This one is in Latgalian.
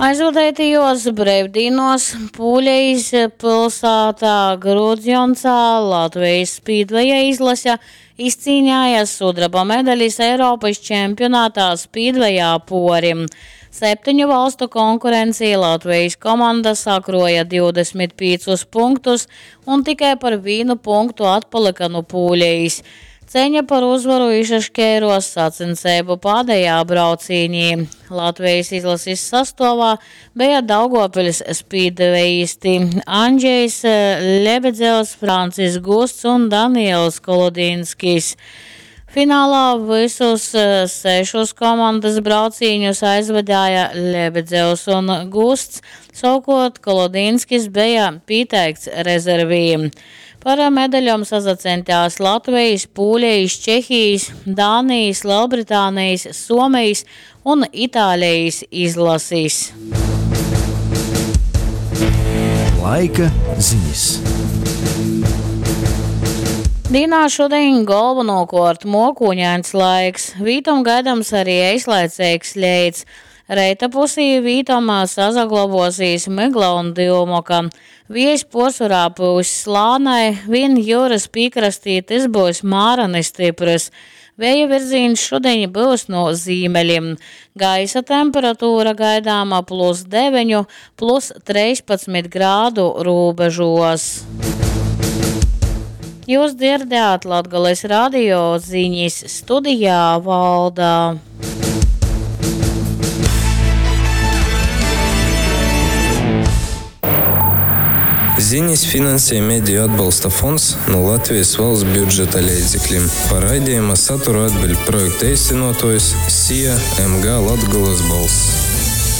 Aizvadeitajuos breivdīnuos Pūlejis pylsātā Grudzjoncā Latvejis spīdveja izlase izcīnēja sudraba medalis Eiropys čempionatā spīdvejā puorim. Septeņu valstu konkurencī Latvejis komanda sakruoja 25 punktus un tikai par vīnu punktu atpalyka nu Pūlejis. Ceiņa par uzvaru išaškeiruos saceņseibu pādejā braucīnī. Latvejis izlasis sastuovā beja Daugovpiļs spīdvejisti Andžejs Lebedzevs, Francis Gusts un Daniels Kolodinskis. Finālā vysus sešus komandys braucīņus aizvadēja Lebedzevs un Gusts, sovukuort Kolodinskis beja pīteikts rezervī. Par medaļom sasaceņtās Latvejis, Pūlejis, Čehijis, Dānijis, Lelbritānejis, Suomejis un Itālejis izlasis. Laika zinis. Dīnā šudiņ golvonūkuort muokūņains laiks, vītom gaidams ari eislaiceigs leits. Reita pusī vītom sasaglobuosīs mygla un dyumoka. Viejs puorsvorā pyuss lānai, viņ jiurys pīkrastī tys byus mārani styprys. Vēja virzīņs šudiņ byus nu zīmelim. Gaisa temperatūra gaidāma plus 9, plus 13 grādu rūbežuos. Jūs dzirdējāt Latgales radio ziņas studijā Valda. Ziņas finansē Mediju atbalsta fonds no Latvijas valsts budžeta leidzekļiem. Par raidījuma saturu atbild projekta īstenotojs SIA MG Latgolas balss.